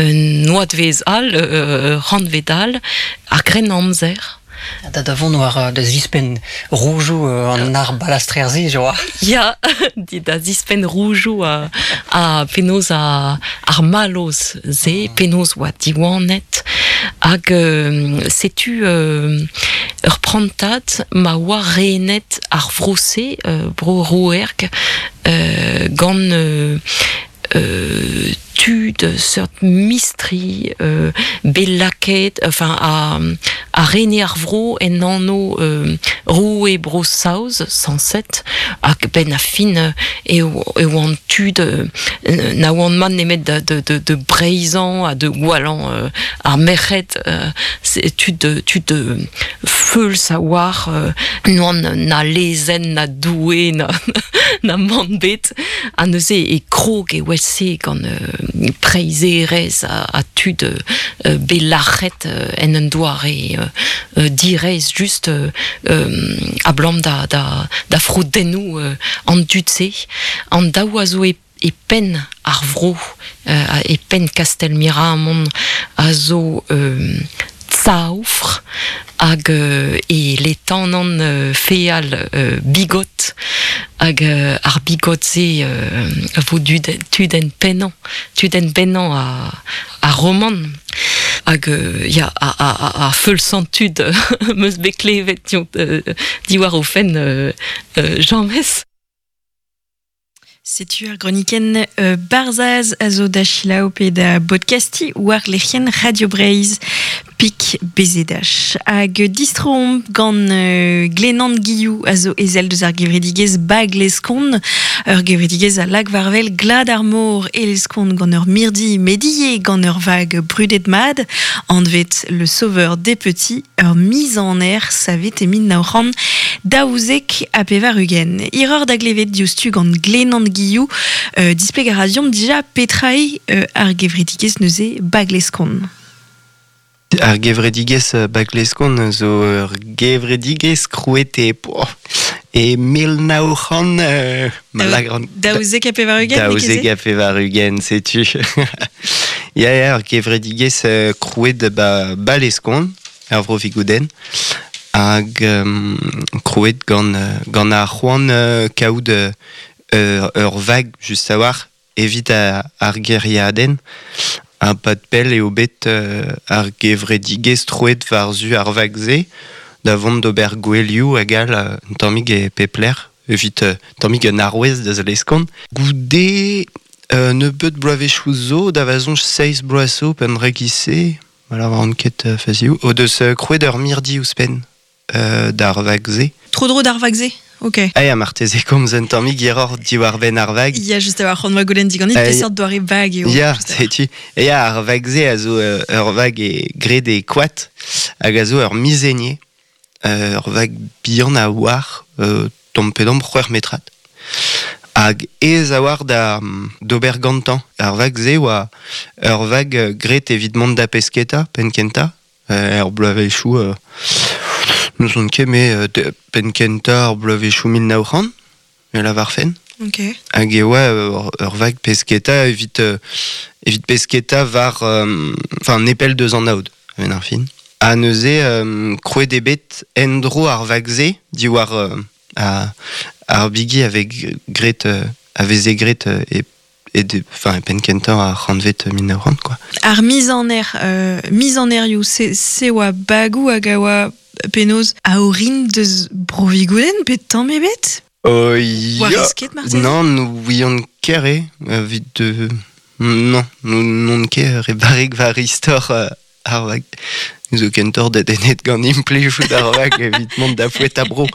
Un oadvezh all, ur rannved all, ar Grennamzer. Da da vont war da zispenn roujoù an arbalastrer-se, joa. Ya, da zispenn roujoù ha, ha penaos ar mallozh-se, penaos oa diwanet. Hag setu ur prantad ma oa renet ar vro-se, bro Rouerg, gant tud seurt mistri bet lakaet, enfin a rene ar vro en anv roue Bro-Saoz, sañset, hag benn ar fin e oant tud na oant mat nemet da breizhañ ha da gwallañ ar merc'hed, tud tud feuls a-walc'h, n'oant na lezenn na Doue na mann bet. Ha neuze e krog evel-se gant preizherezh ha tud bet lac'het en un doare direizh just abalamour da froudennoù an dud-se. An daou a zo e penn ar vro, e penn kastell Miramont a zo Tsaoufr hag e letanant feal Bigot hag ar Bigot-se a vo tudenn pennañ tudenn bennañ ar romant hag ya ar feulsañ tud 'm eus bet klevet diwar o fenn james. Setu ar gronikenn Barzhaz a zo da selaou pe da bodkastiñ war lec'hienn Radio Breizh Pik BZH. Hag distroomp gant Glenan Guillou a zo ezel deus ar gevredigezh Bag Leskon, ur gevredigezh a lak war-wel glad ar mor e Leskon gant ur mirdi met ivez gant ur vag brudet mat anvet Le Sauveur des Petits, ur miz-aner savet e 1992. Hiroc'h da glevet diouzhtu gant Glenan Guillou, displeg a ra deomp dija petra eo ar gevredigezh neuze Bagleskon. Ar gevredigezh Bagleskon zo ur gevredigezh krouet e e 1900 92? 92, setu. Ya, ya, ur gevredigezh krouet ba Baleskon, er vro Vigoudenn, hag krouet gant gant ar c'hoant kaout ur vag just a-walc'h evit ar gêriadenn. Ha pad pell eo bet ar gevredigezh troet war-zu ar vag-se da vont d'ober gouelioù hag all un tammig e pep lec'h evit un tammig un arouez da Zaleskont. Goude nebeut bloavezhioù zo, da va soñj seizh bloaz zo, pemp rekis-se, ma lavaran ket fazioù, o deus krouet ur mirdi ouzhpenn d'ar vag-se. Tro-dro d'ar vag-se Ok. Ah ya, marteze komz un tammig hiroc'h diwar-benn ar vag. Ya, just a-walc'h, c'hoant 'oa goulenn diganit peseurt doare vag eo. Ya, setu. Ya, ar vag-se a zo ur vag e, graet e koad hag a zo ur mizenier. Ur vag bihan a-walc'h, tamm pe damm c'hwec'h metrad. Hag aes a-walc'h da d'ober gantañ. Ar vag-se oa ur vag graet evit mont da pesketa penn-kentañ. Er bloavezhioù n'ouzon ket me penn-kentañ ar bloavezhioù 1900 me lavarfen. Ok. Hag e oa ur vag pesketa evit evit pesketa war enfin nepell deus an aod a-benn ar fin. Ha neuze krouet eo bet en-dro ar vag-se diwar ar bigi a vez graet a veze graet e e enfin, e penn-kentañ ar c'hantved 1900 quoi. Ar miz-aner, miz-anerioù, se oa bagoù hag a oa penaos a-orin deus Bro-Vigoudenn pe tamm ebet? Ya. Oa ket marteze? Non, n'ouion ket re, evit non, n'on ket re barrek war istor ar vag. Zo kentoc'h dedennet gant implijout ar vag evit mont da foetañ bro.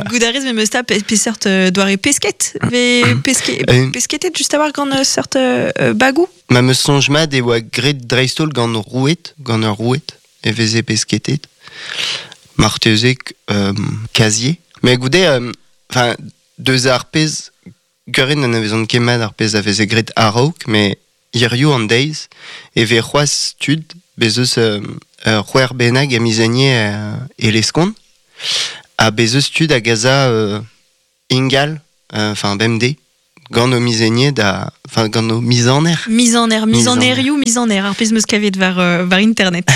Goût a rez memes ta peseurt doare pesket ve peske, pesketet just a-walc'h gant seurt bagoù? Ma 'm eus soñj mat e oa graet dreist-holl gant roued, gant ur roued e veze pesketet. Marteze kazier. Mais goude, enfin, deus ar pezh Geurin n'anavezont ket mat ar pezh a veze graet a-raok, met hiziv an deiz e vez c'hoazh tud, bez' eus ur c'hwec'h bennak e Mizenier e Leskon, ha bez' eus tud hag a za ingal, enfin bemdez, gant o mizenier da... Enfin, gant o mizaner. Mizaner, mizanerioù, mizaner, ar pezh meus kavet war, war internet.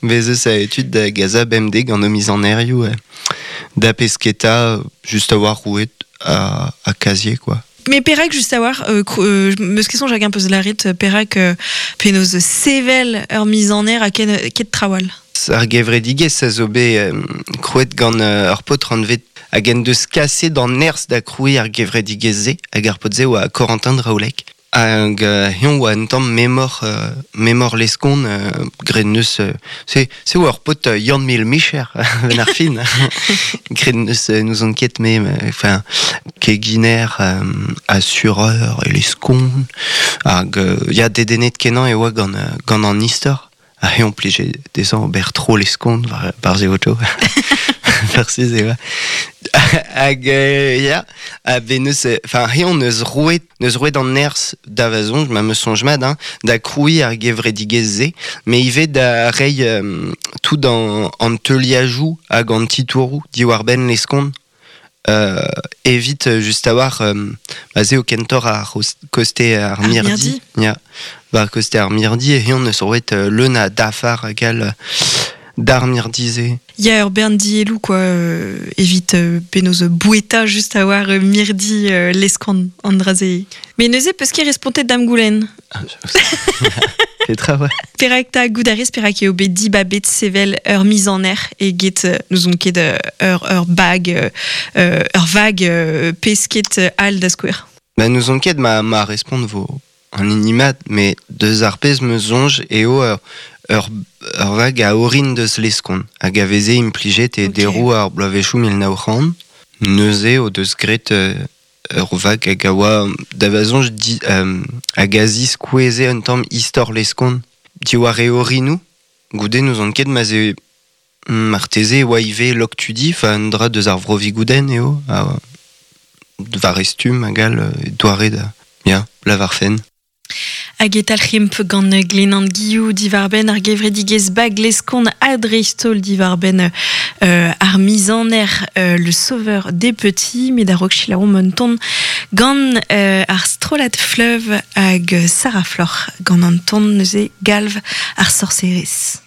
Bez eus a etud da gaza bemde gant o mizanerioù da pesketa just a war rouet a kazier, quoi. Mais perak just a war, meus ket soñj hag un peus laret, perak penaos sevel ur mizaner a ket trawal. Ar gevredigezh a zo bet krouet gant ur paotr anvet hag en deus kaset an nerzh da krouiñ ar gevredigezh-se hag ar paotr-se oa Corentin Draoulec. Hag heñ oa un tamm memor leskon graet neus se oa ur paotr Yann Mil Micher ben ar fin graet neus n'ouzon ket me enfin keginer assureur e leskon hag ya dedennet kenañ e oa gant an istor. Ha heñ plije dezhañ ober tro leskon war ze oto. Farsiz e oa. Hag ya, ha ben neus, enfin heñ neus roet an nerzh da va soñj, ma meus soñj mat, hein, da krouiñ ar gevredigezh-se, mais ivez da reiñ tout an teuliajoù hag an titouroù diwar-benn leskon. Evit just a war ba se o kentor ar koste ar mirdi. Ya, war koste ar mirdi e heñ neus roet leun a dafar hag all d'ar mirdi-se. Ya, ur bern dielou, quoi, evit penaos boueta just a war mirdi leskon an dra-se. Mais neuze peus ket respontet da'm goulenn. Ah, Petra, ouais. Perak ta gout a rez perak eo bet dibabet sevel ur mizaner e get n'ouzon ket ur bag ur vag pesket all da skouer. Ba n'ouzon ket ma respont vo an hini mat, mais deus ar pezh me soñj eo ur vag a orin deus leskon hag a veze implijet e deroù ar bloavezhioù 1900. Neuze o deus graet ur vag hag a oa da va soñj hag a ziskoueze un tamm istor leskon diwar e orinoù. Goude n'ouzon ket ma ze marteze e oa ivez Loctudi, enfin un dra deus ar vro Vigoudenn eo, war e stumm hag all doare da, ya, lavarfen. Hag e talc'himp gant Glenan Guillou diwar-benn ar gevredigezh bag leskon ha dreist-holl diwar-benn ar mizaner le sauveur des petits, met a-raok selaouomp un ton gant ar strollad fleuve hag Sarah Floc'h gant an ton neuze galv ar sorcerez.